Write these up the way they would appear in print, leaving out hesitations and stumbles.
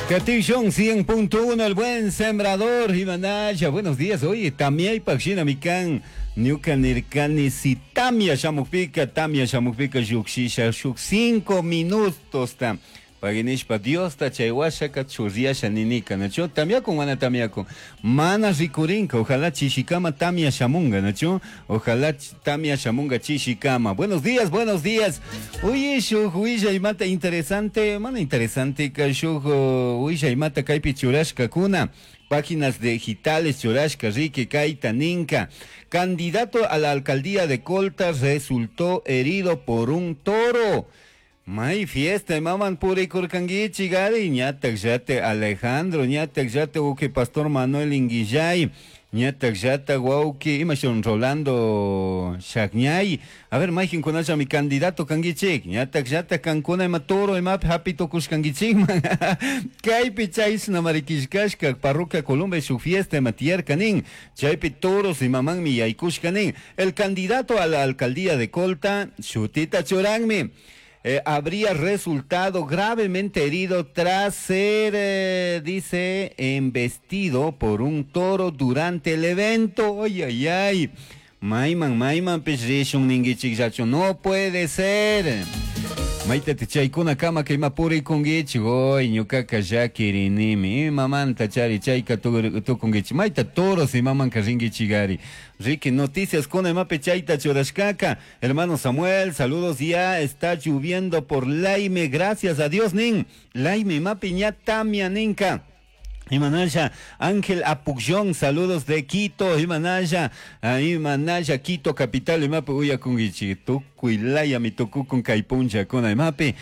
Catillón 100.1, el buen sembrador, Imanaya, buenos días. Oye, tamia y mi can, ñuka nirkani si tamia shamukpika, tamia shamukpika llukshisha shuk 5 minutos ta. Paginishpa Diosta chay washaka churriasha ninika, nachu? Tamiakun mana tamiakun. Mana rikurinka, ojalá chishikama tamia shamunga, nachu? Ojalá tamia shamunga chishikama. Buenos días, buenos días. Oye, shuk willaymata interesante, mana interesante ka shuk willaymata kaypi churashkakuna. Páginas digitales churashka riki kayta ninka. Candidato a la alcaldía de Colta resultó herido por un toro. May fiesta, maman purikurkankichik gari, ñatak llate Alejandro, ñatak llate wawqi Pastor Manuel Inguillay, ñatak llata wawqi, imashun Rolando Shakñay. A ver, mayqinkunalla mi candidato kankichik, ñatak llata kankuna ima toro imapi hapi tukushkankichikman. Kaypi chayshna marikishkashka, parroquia Colombia shuk fiesta ima tiyarka nin, chaypi toros imamanmi yaykushka nin. El candidato a la alcaldía de Colta, shutita churanmi. Habría resultado gravemente herido tras ser, dice, embestido por un toro durante el evento. Ay, ay, ay. Mayman, mayman, pishishun ningichik yachu. No puede ser. Maita te chaykuna kama que ima purikungichik. Oy, ñukaka llakirinimi. Imamanta chari chayka tukungichik. Maita toros imamanka ringichigari. Ricky, noticias con imape chayta churashkaka. Hermano Samuel, saludos. Ya está lloviendo por Laime. Gracias a Dios, nin. Laime, imape ña tamia ninka. Imanaya, Ángel Apucllón, saludos de Quito, Imanaya, Imanaya, Quito, capital, imape, uyakungichi, tukuylaya, mi tukukun kaypuncha, kuna imape,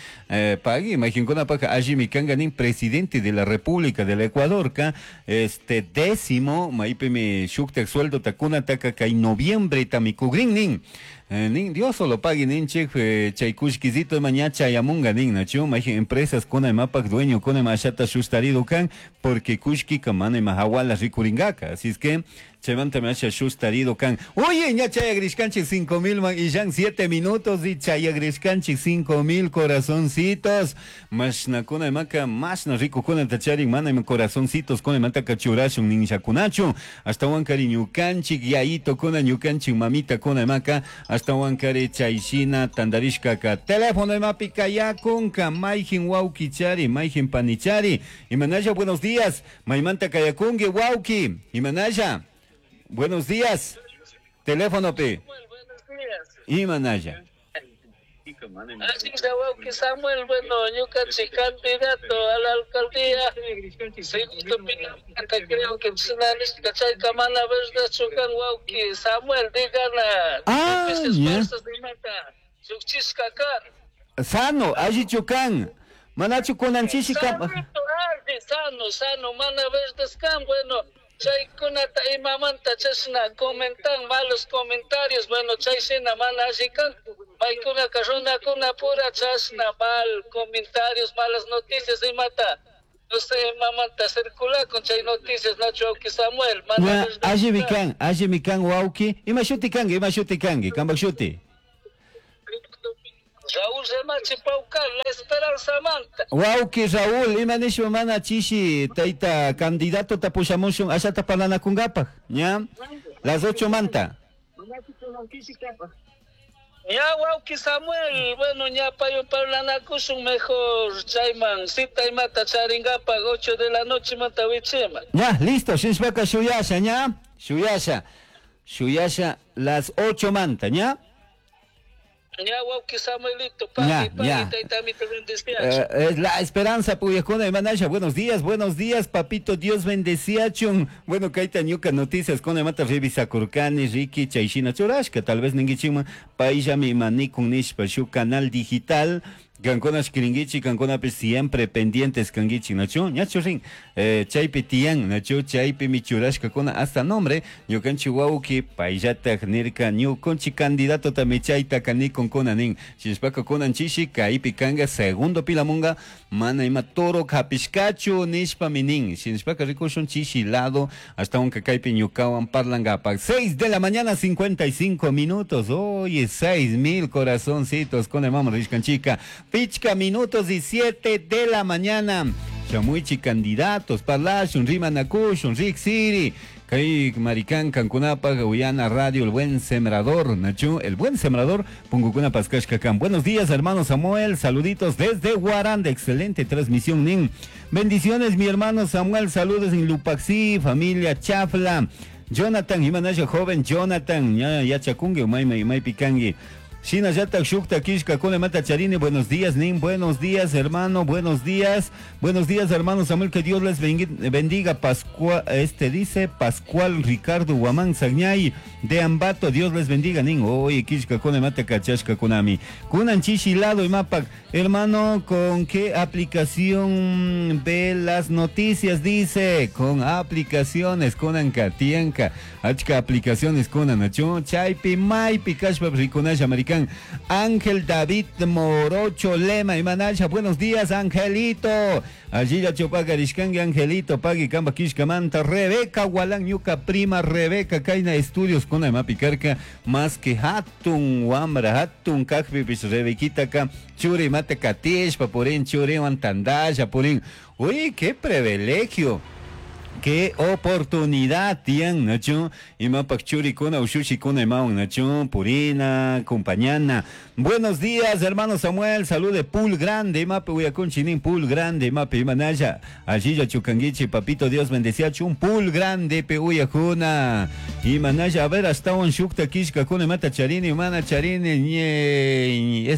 pagui, imaginkuna paja, allí mi kanga nin presidente de la República del Ecuador, ka, este décimo, maipe mi shuktak sueldo takuna taka kay noviembre tamikugrin nin. Nin, Dios solo pague nin chek, chaykushkizito maña chayamunga nin, nachu, maje empresas kuna imapak dueño kuna imashata shustarido kan, porque kushki kamana imahawala rikuringaka, así es que chaymanta me hacha shustarido kan. Oye, ña chayagrishkanchik 5000 man, y ya 7 minutos y chayagrishkanchik 5000 corazoncitos. Mashna kuna imaka, mashna rico kuna tacharin, mana ima corazoncitos kuna imantaka churashun ninchakunachu. Hasta wankari ñukanchik, yaito kuna ñukanchik, mamita kuna imaka, hasta wankari chayshina tandarishkaka. Teléfono imapi kayakunka, mayjin wawkichari, mayjin panichari. Imanaya, buenos días. Maymanta kayakunki, wawki. Imanaya. Buenos días. Teléfono P. Buenos días. Imanaya. Así es, wawki Samuel, bueno, ñukanchik candidato a la alcaldía. Segundo Pinamanta, creo que chayka mana verdadchu kan, wawki Samuel, digana. Ah, ya. Chukchishka kan. Sano, allichu kan. Manachu kunanchishi kan. Sano, sano, mana verdad kan, bueno. Chaykunata imamanta chashna comentan malos comentarios, bueno, chayshina mana alli kan, paykunaka runakuna pura chashna mal comentarios, malas noticias imata, no sé, imamanta circula con chay noticias, Nacho wawki Samuel, mana Ya, verdad alli mi kan. kan, alli mi kan wawki, ima shuti kanki, ima shuti kanki, kanpak shuti. Raúl Remache Paucar, La Esperanza Manta. Wawki Raúl, ima nishpa mana chishi tayta candidato tapushamushun ashata parlanakunkapaj, ña? Las 8 manta. Ña wawki Samuel, bueno, ña payo parlanakushun mejor chayman, cita imata charingapaj 8 de la noche manta wichima. Ña, listo, shinshpaka shuyasha, ña? Shuyasha, shuyasha las 8 manta, ña? Ña wawki Samuelito, pagui, Ña, pagui, ña. tayta amito bendeciachu. Es la esperanza, puyajuna, Imanaya, buenos días, buenos días, papito, Dios bendeciachun. Bueno, kaita ñuka noticias con mata revisa kurkani, Ricky, chayshina churashka, tal vez ningichima, paillami imanikun nishpa, shu canal digital, Kankuna shkiringichi, kankuna pe siempre pendientes kangichi, nachu, ñachu rin, chaypi tiyan, nachu, chaypi michurashka kuna hasta nombre, ñukanchi wawki, payllatak nirka, ñukunchi candidato tami chayta kanikun kuna nin, shishpaka kunan chishi, kaypi kanga segundo pilamunga, mana ima toro kapishkachu nishpa minin, shishpaka rikushun chishi lado, hasta un kaypi ñukawan parlangapak, 6 de la mañana, 55 minutos, oye, 6000 corazoncitos, con el mamá rishkanchika. Pichca minutos y 7 de la mañana. Shamuichi candidatos, parlashun, rimanakushun, riksiri. Kay marikan kankunapaq uyana radio El Buen Sembrador, nachu, El Buen Sembrador, pungukuna paskashka kan. Buenos días, hermano Samuel, saluditos desde Guaranda, excelente transmisión, nin. Bendiciones, mi hermano Samuel, saludos en Lupaxi, familia Chafla. Jonathan, imanasha joven Jonathan, ya yachakungi, umay may pikangi. Shinallatak shukta kishka mata charini, buenos días, nin, buenos días, hermano, buenos días, hermano Samuel, que Dios les bendiga. Pascual, dice Pascual Ricardo Guamán Sagñay de Ambato, Dios les bendiga, nin. Oye, kishka mata kachashka kunami. Kunan chishi lado y mapak, hermano, ¿con qué aplicación ve las noticias? Dice, con aplicaciones, kunanka, tianka, achka aplicaciones kunan, chaypi, maypi, kashpa, rikunasha, americano. Ángel David Morocho Lema y Manasha, buenos días, Angelito. Allí ya chopaga rishkangi, Angelito, pagui kamba kishkamanta, Rebeca Gualán, ñuka prima Rebeca, kaina estudios con mapicarca, más que hatun wambra, hatun kakpipish Rebequita ka, churi mate katishpa, purin churi tandaya, purin. Uy, qué privilegio. Qué oportunidad tian, nacho. Imapak churikuna, ushushikuna, imawan, nacho. Purina, compañana. Buenos días, hermano Samuel. Salude Pool Grande, imape uyakunchinin, Pool Grande, imape imanaya. Allí ya chukanguichi, papito Dios bendecía, chun Pool Grande, pe uyakuna. Imanaya, a ver, hasta un shukta kishka kuna, mata charini, mana charini, ñe,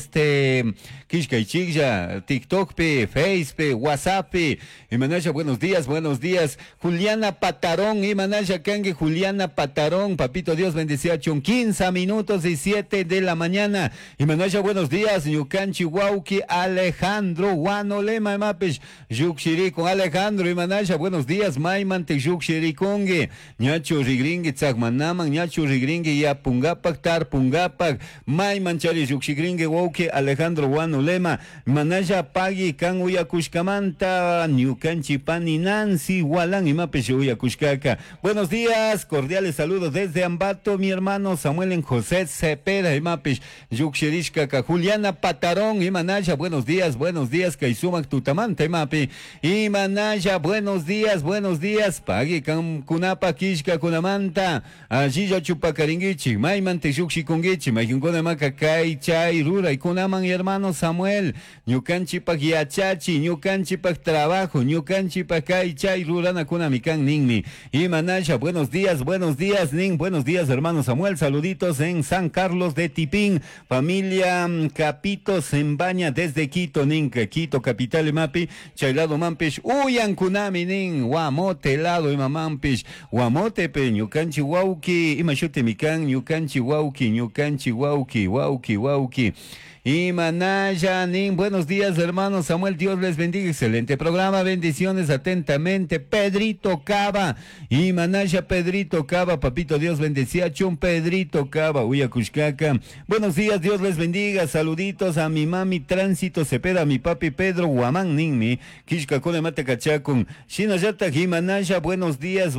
kishka y chikya, TikTok pe, Face pe, WhatsApp pe. Imanaya, buenos días, buenos días. Juliana Patarón, Imanaya Kangue, Juliana Patarón, papito Dios bendecía, chun 15 minutos y 7 de la mañana. Imanaya, buenos días, Ñukanchi Wauki, Alejandro, Guanolema, Mapish, Yukshiri con Alejandro, Imanaya, buenos días, Maymante, Yukshirikongue, Ñacho Rigringue, Tzagmanaman, Ñacho Rigringue, Yapungapak, Tarpungapak, Maymanchari, Yukshigringue, Wauki, Alejandro, Guanolema, Imanaya, Pagui, Kan Uyakushkamanta, Ñukanchi Pani, Nancy, Gualán, Imapish, Uyakushkaka. Buenos días, cordiales saludos desde Ambato, mi hermano Samuel en José Cepeda, Imapish, Yukshirishkaka, Juliana Patarón, Imanaya, buenos días, Kaisumak Tutamanta, Imapi, Imanaya, buenos días, Pagui, Kunapa, Kishka, Kunamanta, allí ya chupacaringuichi, Maymante, Yukshikunguichi, Mayunkuna Maka, Kai, Chay, Rura, y Kunaman, y hermano Samuel, Ñukanchipak Yachachi, Ñukanchipak Trabajo, Ñukanchipak Kai, Chay, Rurana, Kunamikan, Ninmi, Imanaya, buenos días, Nin, buenos días, hermano Samuel, saluditos en San Carlos de Tipín, familia Capito Zembaña desde Quito, Nin, Quito, capital, Mapi, Chaylado Mampish, Uyan Kunami, Nin, Guamote, lado, Imamampish, Guamote, pe, Ñukanchi Wauki, Imashute Mikan, Ñukanchi Wauki, Ñukanchi Wauki, Wauki, Wauki. Imanaya, Nin, buenos días, hermano Samuel, Dios les bendiga, excelente programa, bendiciones atentamente, Pedrito Cava, Imanaya, Pedrito Cava, papito Dios bendecía, chun Pedrito Cava, Uyakushkaka, buenos días, Dios les bendiga, saluditos a mi mami Tránsito Cepeda, a mi papi Pedro Guamán, Ninmi, Kishka Kone Mate Kachakun, Shinayata, Imanaya, buenos días,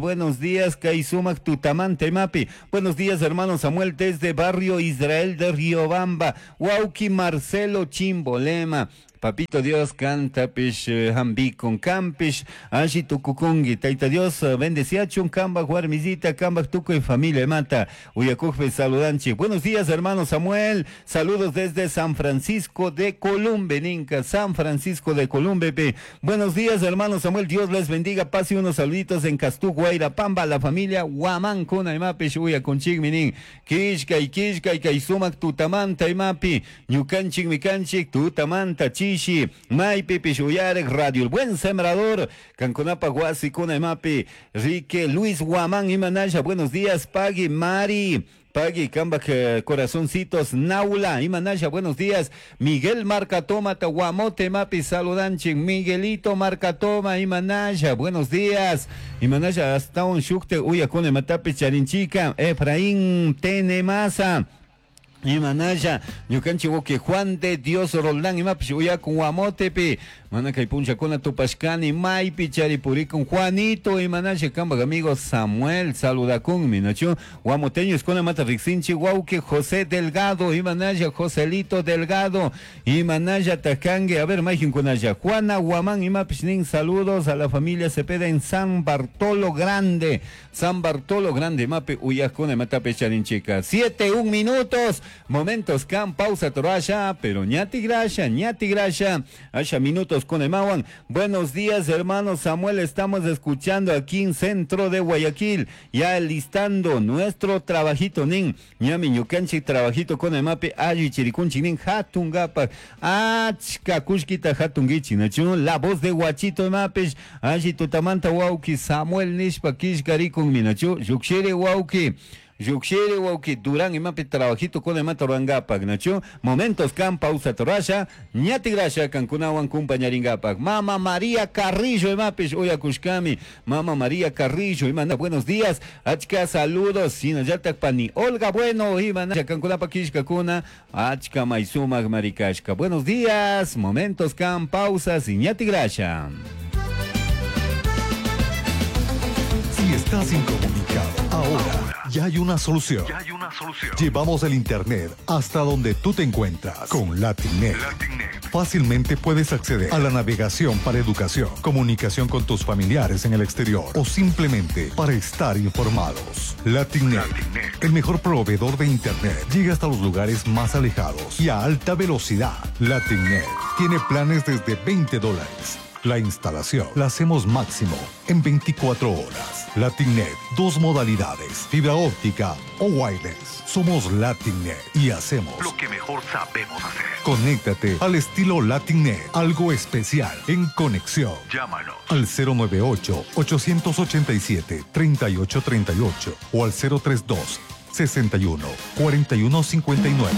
Kaisumak Tutamante Mapi, buenos días, hermano Samuel, desde Barrio Israel de Riobamba, Wauki Marcelo Chimbolema, Papito Dios canta pish hambi con campish ashi tukukungi taita Dios bendecía chun kamba guarmizita kamba tuco y familia mata uyakujpe saludanchi. Buenos días, hermano Samuel, saludos desde San Francisco de Columbe, Ninca, San Francisco de Columbe. Pe. Buenos días, hermano Samuel, Dios les bendiga, pase unos saluditos en Castú, Guairapamba, la familia Guamán kuna imapish uyakunchikminin kishka y kishka y kaisumak tutamanta imapi ñukanchik mikanchik tutamanta chishi Maypi Pishuyarek, Radio El Buen Sembrador, Canconapa, Guasi, Kuna, Imapi, Rique, Luis Guamán, Imanaya, buenos días, Pagui, Mari, Pagui, Kamba, Corazoncitos, Naula, Imanaya, buenos días, Miguel Marcatoma, Tahuamote, Mapi, saludanchi, Miguelito Marcatoma, Imanaya, buenos días, Imanaya, hasta un shukte, Uyacone, Matapi, Charinchica, Efraín, Tenemasa, Imanaya, ñukanchi woki Juan de Dios Roldán, imapish uyakun Guamotepi, Mana kay punchakuna tupashkani maypi chari purikun Juanito imanalla kanpak amigo Samuel saludakunmi nachu guamoteños kunamanta riksinchik wawki José Delgado imanalla Joselito Delgado imanalla kanki a ver mayqinkunalla Juana Guamán imapish nin saludos a la familia Cepeda en San Bartolo Grande. San Bartolo Grande imapi uyakuna imatapish charinchika 7 un minutos. Momentos kan pausa torasha pero ñati grasha ñati grasha. Asha minutos con imawan. Buenos días hermano Samuel. Estamos escuchando aquí en centro de Guayaquil ya listando nuestro trabajito nin. Ñami ñukanchik trabajito con imapi alli chirikunchik nin. Hatungapak achka kushkita hatungichik nachu la voz de Guachito imapish alli tutamanta wawki Samuel nishpa killkarikun minachu llukshiri wawki Llukshiri wawki Durán imapi trabajito con imata rurangapak nachu momentos kan pausa torasha ñati grasha kankunawan kumpañaringapak Mama María Carrillo imapish uyakushkami Mama María Carrillo imana buenos días. Achka saludos. Shinallatak pani Olga Bueno imana kankunapak killkakuna achka maysumak marikashka. Buenos días. Momentos kan pausas y ñati grasha. Si estás incomunicado, ahora ya hay una solución. Ya hay una solución. Llevamos el internet hasta donde tú te encuentras con Latinet. Latinet. Fácilmente puedes acceder a la navegación para educación, comunicación con tus familiares en el exterior o simplemente para estar informados. Latinet, Latinet. el mejor proveedor de internet, llega hasta los lugares más alejados y a alta velocidad. Latinet tiene planes desde veinte dólares. La instalación la hacemos máximo en 24 horas. Latinet, dos modalidades, fibra óptica o wireless. Somos Latinet y hacemos lo que mejor sabemos hacer. Conéctate al estilo Latinet, algo especial en conexión. Llámanos al cero nueve ocho, 887, 3838 o al cero tres dos, 61, 41 59.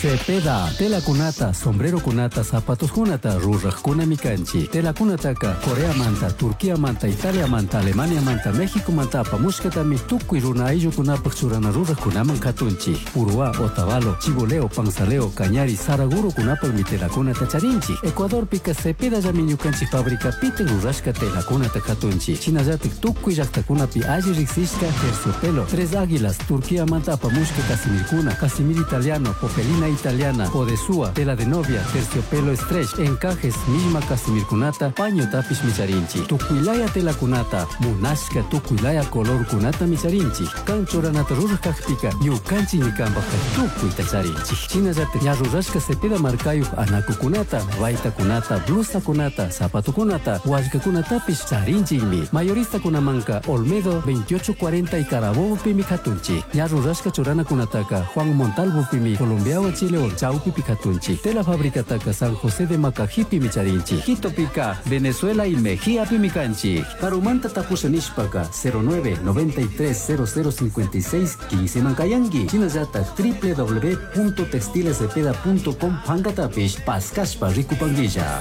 Cepeda, tela kunata, sombrero kunata, zapatos kunata, ruraj kunami kanchi. Tela kunataka, Corea manta, Turquía manta, Italia manta, Alemania manta, México manta, apamushkatami, tukuy runa ayllukunapaj churana ruraj kunaman katunchi. Uruá, Otavalo, Chiboleo, Panzaleo, Cañari, Saraguro kunapaj mi tela kunata charinchi. Ecuador pika Cepeda llami ñukanchik fábrica piten rurashka tela kunata katunchi. Shinallatik tukuy llaktakunapi alli riksishka terciopelo, Tres Águilas, Turquía manta apamushka casimirkuna, casimir italiano, popelina italiana, podesúa, tela de novia, terciopelo stretch, encajes, misma casimirkunata, paño tapish micharinchi, tukuilaya tela kunata, munashka tukuilaya color kunata micharinchi, kanchoranata rurajkajpika, ñukanchi ñikanpajka tukuyta charinchi. Shinallata ñarrurashka cepeda markayuj anakukunata, baytakunata, blusakunata, zapatukunata, wallkakunatapish charinchikmi. Mayoristakunamanka Olmedo 2840 y Carabobo pimi katunchi. Ñarrurashka churanakunataka Juan Montalvo pimi Colombia Chile Chaupi Picatunchi, Tela Fábrica Taca San José de Macajipi Micharinchi, Quito Pica, Venezuela y Mejía Pimicanchi, Carumanta Tapusa Nishpaka, cero nueve noventa y tres cero cero cincuenta y seis quince Mancayangui, Chinayata, doble u doble u doble u punto textiles cepeda punto com, Pancatapish, Pascaspa, Ricupanguilla.